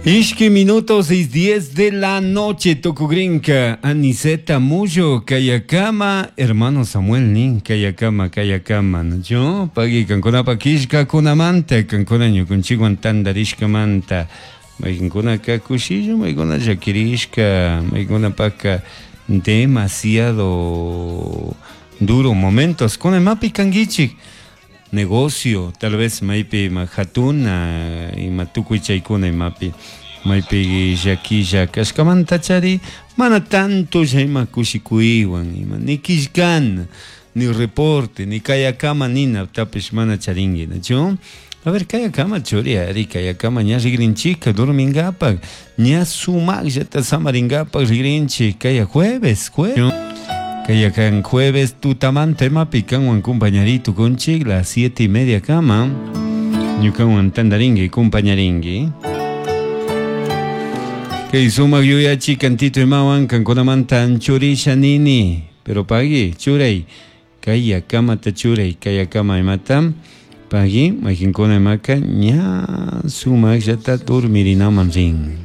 Ishki minutos 6:10 de la noche, tukugrinka, Aniceta Mullo, Kayakama, hermano Samuel nin, Kayakama, Kayakama, yo, pagui kankunapa killkakunamanta, kankuna ñukunchikwan tantarishkamanta, maykankunaka kushilla, maykuna llakirishka, maykunapaka demasiado duro momentos, kuna imapi kankichik, negocio, tal vez maypi ima hatuna, ima tukuy chaykuna imapi, maypi llakilla kashkamanta chari, mana tanto ima kushikuywan, ima ni killkana, ni reporte, ni kayakama nina, tapish mana charinki, nachu? A ver, kayakama churi, ari, kayakama ña rigrinchika, durmingapak, ña sumakllata samaringapak rigrinchik, kaya jueves, jueves. Kaya kan jueves tutamanta imapi kanwan compañerito kunchik, las 7:30 kama, ñukanwan tantarinki, compañarinki. Kay sumak yuyachi kantito imawan kankunamanta anchurisha nini, pero pagui, churay, kaya kamata churay, kaya kama imata, pagui, mayqinkuna imaka ña sumakllata dormirinaman rin.